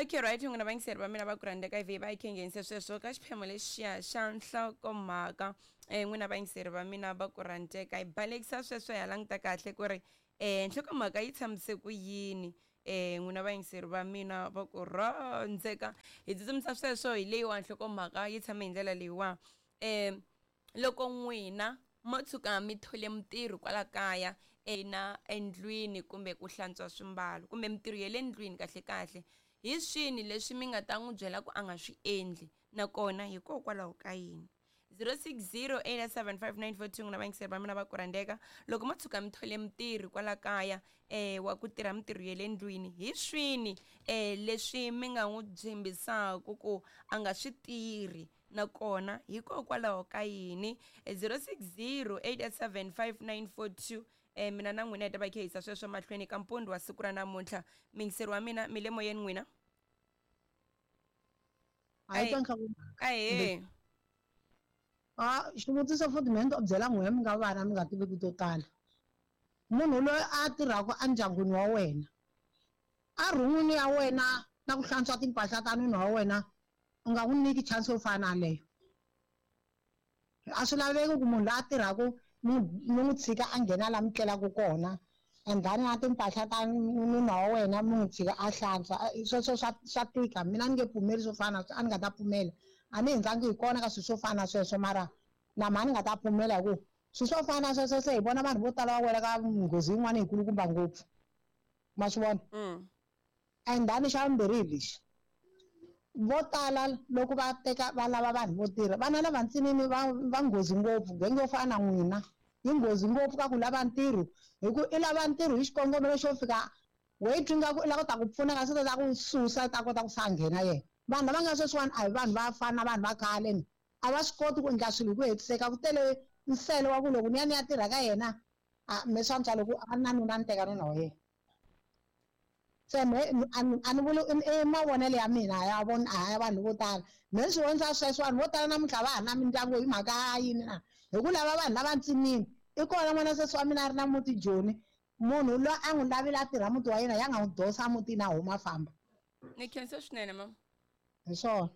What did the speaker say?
Okay, right, n'wina vayingiseri va mina va ku rhandzeka ivi va yi khe nghenise sweswo ka xiphemu lexiya xa nhlokomhaka. N'wina vayingiseri va mina va ku rhandzeka, hi balekisa sweswo hi ya languta kahle ku ri nhlokomhaka yi tshamise ku yini. N'wina vayingiseri va mina va ku rhandzeka, hi tsutsumisa sweswo hi leyiwa nhlokomhaka yi tshame hi ndlela leyiwa. Loko n'wina mo tshuka mi thole mutirhi kwala kaya na endlwini kumbe ku hlantswa swimbalo kumbe mitirho ya le ndlwini, kahle kahle hi swini leswi mi nga ta n'wi byela ku a nga swi endli, nakona hikokwalaho ka yini? 0608755942. N'wina vayingiseri va mina va ku rhandzeka, loko mo tshuka mi thole mutirhi kwala kaya wa ku tirha mitirho ya le ndlwini, hi swini leswi mi nga n'wi tshembisaka ku a nga swi tirhi, nakona hikokwalaho ka yini? 0608755942. Mina na n'wina hi ta va khe hisa sweswo mahlweni ka mpundu wa siku ra namuntlha. Mingiseri wa mina, mi le moyeni n'wina? Ahee. A xivutiso futhi mina ni to byela n'wina mi nga vana mi nga tiviki to tala. Munhu loyi a tirhaka endyangwini wa wena, a rhumini ya wena na ku hlantswa timpahla ta nuna wa wena, u nga n'wi nyiki chance yo fana na leyo. A swi laveki ku munhu loyi a tirhaka mi n'wi tshika a nghena laha mi tlelaka kona, and then na timpahla ta nuna wa wena mi n'wi tshika a hlantswa. Sweswo swa tika. Mina ni nge pfumeli swo fana, a ni nga ta pfumela. A ni hundzangi hi kona ka swilo swo fana na sweswo, mara na mhani ni nga ta pfumela, hi ku swilo swo fana na sweswo se hi vona vanhu vo tala va wela ka nghozi yin'wana yikulukumba ngopfu, ma swi vona. And then xa vumbirhi hi lexi, vo tala loko va teka va lava vanhu vo tirha, vana lava ntsinini va nghozi ngopfu. Genge yo fana na n'wina yi nghozi ngopfu ka ku lava ntirho, hi ku i lava ntirho hi xikongomelo xo fika we twi nga ku i lava ku ta ku pfuna, kasi ta ku susa ta kota ku sa nghena yena. Vanhu lava nga sweswiwani a hi vanhu va fana na vanhu va khale ni, a va swi koti ku endla swilo hi ku hetiseka. Ku tele nsele wa ku loko ni ya ni ya tirha ka yena, a me swa antswa loko a ri na nuna ni teka nuna wa yena. Se me a ni vuli i mavonelo ya mina, ya vona a ya vanhu vo tala. Me swi vonisa sweswo vanhu vo tala namuntlha va ha na mindyangu hi mhaka ya yini na? Hi ku lava vanhu lava ntsinini. I kona n'wana sesi wa mina a ri na muti Joni, munhu loyi a n'wi lavile a tirha muti wa yena, ya nga n'wi dosa mutini a huma a famba. Ni khensa swinene mama. Hi swona.